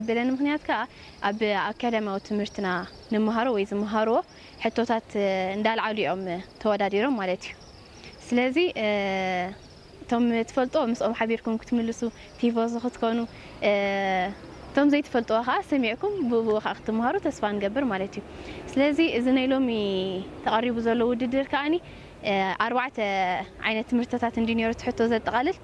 በለኒ ምኽንያት ከኣ ኣብ ኣካዳሚያዊ ትምህርትና ንመሃሮ ወይ ዝመሃርዎ ሕቶታት እንዳልዓሉ እዮም ተወዳዲሮም ማለት እዩ። ስለዚ እቶም ትፈልጦ ምስኦም ሓቢርኩም ክትምልሱ፣ ቲፎዞ ክትኮኑ፣ እቶም ዘይትፈልጥዎ ከዓ ሰሚዕኩም ብኡ ከዓ ክትመሃሩ ተስፋ ንገብር ማለት እዩ። ስለዚ እዚ ናይ ሎሚ ተቐሪቡ ዘሎ ውድድር ከዓኒ ኣርባዕተ ዓይነት ትምህርትታት እንዲ ነይሩ እቲ ሕቶ ዘጠቓልል።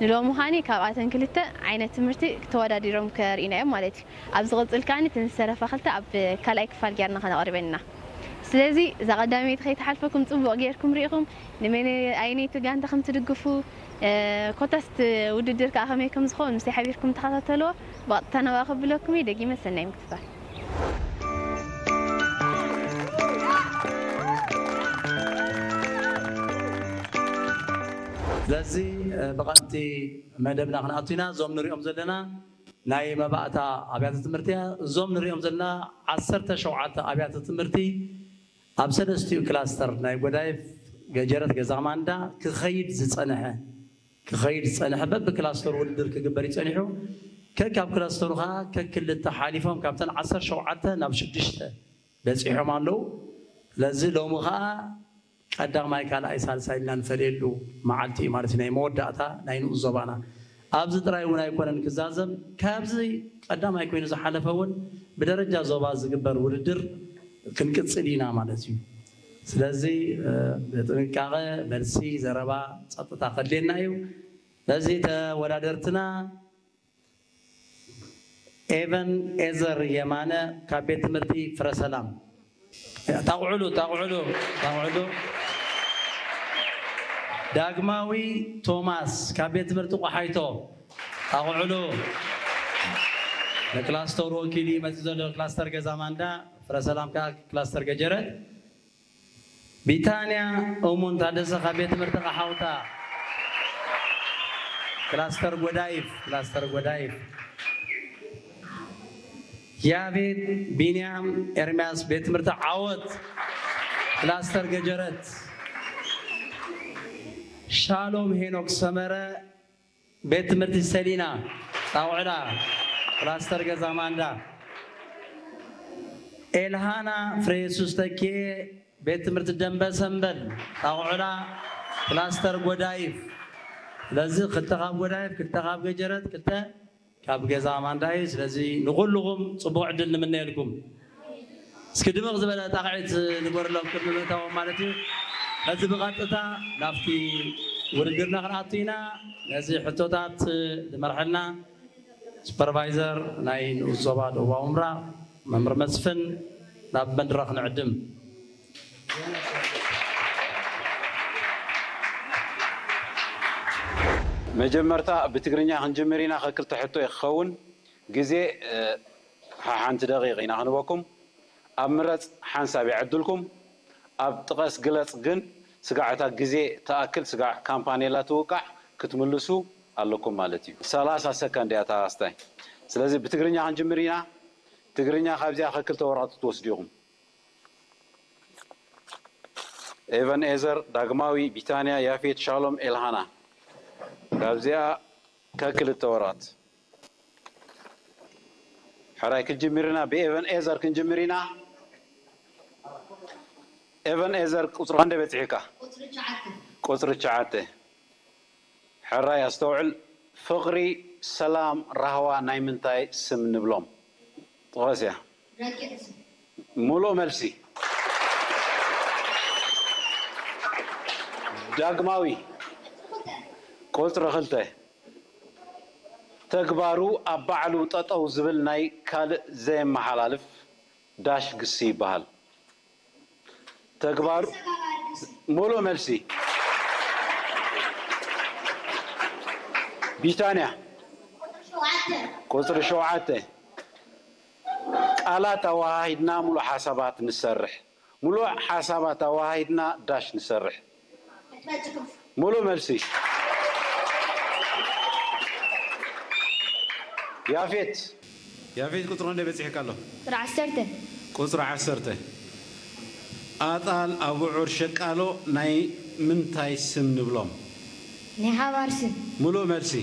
ንሎሚ ከዓኒ ካብኣተን ክልተ ዓይነት ትምህርቲ ተወዳዲሮም ከርእዩና እዮም ማለት እዩ። ኣብ ዝቕጽል ከዓኒ እተን ዝተረፋ ክልተ ኣብ ካልኣይ ክፋል ጌርና ከነቕርበን ኢና። ስለዚ እዛ ቀዳመይቲ ከይትሓልፈኩም ጽቡቕ ጌርኩም ርኢኹም ንመን ኣየነይቲ ጋንታ ከም ትድግፉ ኮታስ እቲ ውድድር ከኣ ከመይ ከም ዝኸውን ምስይ ሓቢርኩም ተኸታተልዎ። ብቐጥታ ናብኣ ከብለኩም እየ። ደጊመ ሰናይ ምክትታል። ስለዚ ብቐጥቲ መደብና ክንኣቱ ኢና። እዞም ንሪኦም ዘለና ናይ መባእታ ኣብያተ ትምህርቲ እያ። እዞም ንሪኦም ዘለና ዓሰርተ ሸውዓተ ኣብያተ ትምህርቲ ኣብ ሰለስቲኡ ክላስተር ናይ ጎዳይፍ፣ ገጀረት፣ ገዛ ማንዳ ክኸይድ ዝጸንሐ ክኸይድ ዝጸንሐ በብክላስተሩ ውድድር ክግበር ይጸኒሑ። ከካብ ክላስተሩ ከኣ ከክልተ ሓሊፎም ካብተን ዓሰርተ ሸውዓተ ናብ ሽዱሽተ በጺሖም ኣለዉ። ስለዚ ሎሚ ከኣ ቀዳማይ፣ ካልኣይ፣ ሳልሳይ ኢልና ንፈልየሉ መዓልቲ እዩ ማለት እዩ፣ ናይ መወዳእታ ናይ ንኡስ ዞባና። ኣብዚ ጥራይ እውን ኣይኮነን ክዛዘም፣ ካብዚ ቀዳማይ ኮይኑ ዝሓለፈ እውን ብደረጃ ዞባ ዝግበር ውድድር ክንቅጽል ኢና ማለት እዩ። ስለዚ ብጥንቃቐ መልሲ፣ ዘረባ፣ ጸጥታ ከድልየና እዩ። ነዚ ተወዳደርትና ኤቨን ኤዘር የማነ ካብ ቤት ትምህርቲ ፍረሰላም። ጣቕዕሉ ጣቕዕሉ ጣቕዕሉ። ዳግማዊ ቶማስ ካብ ቤት ትምህርቲ ቆሓይቶ። ጣቕዕሉ። ንክላስተሩ ወኪሉ እዩ መፂኡ ዘሎ፣ ክላስተር ገዛ ማንዳ፣ ፍረሰላም ከዓ ክላስተር ገጀረት። ቢታንያ እሙን ታደሰ ካብ ቤት ትምህርቲ ቃሓውታ፣ ክላስተር ጎዳይፍ፣ ክላስተር ጎዳይፍ። ያቤት ቢንያም ኤርምያስ ቤት ትምህርቲ ዓወት፣ ክላስተር ገጀረት። ሻሎም ሄኖክ ሰመረ ቤት ትምህርቲ ሰሊና ጣውዕላ፣ ክላስተር ገዛ ማንዳ። ኤልሃና ፍሬየሱስ ተኪኤ ቤት ትምህርቲ ደንበ ሰንበል ጣውዕላ፣ ክላስተር ጎዳይፍ። ስለዚ ክልተ ካብ ጎዳይፍ፣ ክልተ ካብ ገጀረት፣ ክልተ ካብ ገዛ ማንዳ እዩ። ስለዚ ንኹልኹም ጽቡቕ ዕድል ንምነየልኩም። እስኪ ድምቕ ዝበለ ጣቕዒት ንገበረሎም ቅድሚ ምእታዎም ማለት እዩ። ሕዚ ብቐጥታ ናብቲ ውድድርና ክንኣቱ ኢና። ነዚ ሕቶታት ዝመርሐልና ሱፐርቫይዘር ናይ ንኡስ ዞባ ደቡባዊ ምብራቕ መምህር መስፍን ናብ መድረኽ ንዕድም። መጀመርታ ብትግርኛ ክንጅምር ኢና። ከክልተ ሕቶ እዩ ክኸውን። ግዜ ሓሓንቲ ደቂቕ ኢና ክንበኩም። ኣብ ምረጽ ሓንሳብ ይዕድልኩም። ኣብ ጥቀስ ግለጽ ግን ስጋዕ እታ ግዜ ትኣክል ስጋዕ ካምፓኔላ ትውቃዕ ክትምልሱ ኣለኩም ማለት እዩ። ሰላሳ ሰከንድ እያ እታ ኣስታይ። ስለዚ ብትግርኛ ክንጅምር ኢና። ትግርኛ ካብዚኣ ከክልተ ወረቐት ክትወስዱ ኢኹም። ኤቨን ኤዘር፣ ዳግማዊ፣ ቢታንያ፣ ያፌት፣ ሻሎም፣ ኤልሃና። ካብዚኣ ከክልተ ወረቐት። ሕራይ ክንጅምር ኢና፣ ብኤቨን ኤዘር ክንጅምር ኢና። ኤቨን ኤዘር ቁፅሪ ክንደይ በፂሕካ? ቁፅሪ ትሽዓተ። ሕራይ ኣስተውዕል፣ ፍቕሪ፣ ሰላም፣ ራህዋ ናይ ምንታይ ስም ንብሎም? ጥቐስ እያ። ሙሉእ መልሲ። ዳግማዊ፣ ቁፅሪ ክልተ። ተግባሩ ኣብ ባዕሉ ጠጠው ዝብል ናይ ካልእ ዘየመሓላልፍ ዳሽ ግሲ ይበሃል። ተግባሩ ሙሉእ መልሲ። ቢታንያ ቁፅሪ ሸውዓተ። ቃላት ኣወሃሂድና ሙሉእ ሓሳባት ንሰርሕ። ሙሉእ ሓሳባት ኣወሃሂድና ዳሽ ንሰርሕ። ሙሉእ መልሲ። ያፌት። ያፌት ቁፅሪ ክንደይ በፂሕካ ኣሎ? ቁፅሪ ዓሰርተ። ቁፅሪ ዓሰርተ። ኣጣል፣ ኣቡዑር፣ ሸቃሎ ናይ ምንታይ ስም ንብሎም? ናይ ሓባር ስም። ሙሉእ መልሲ።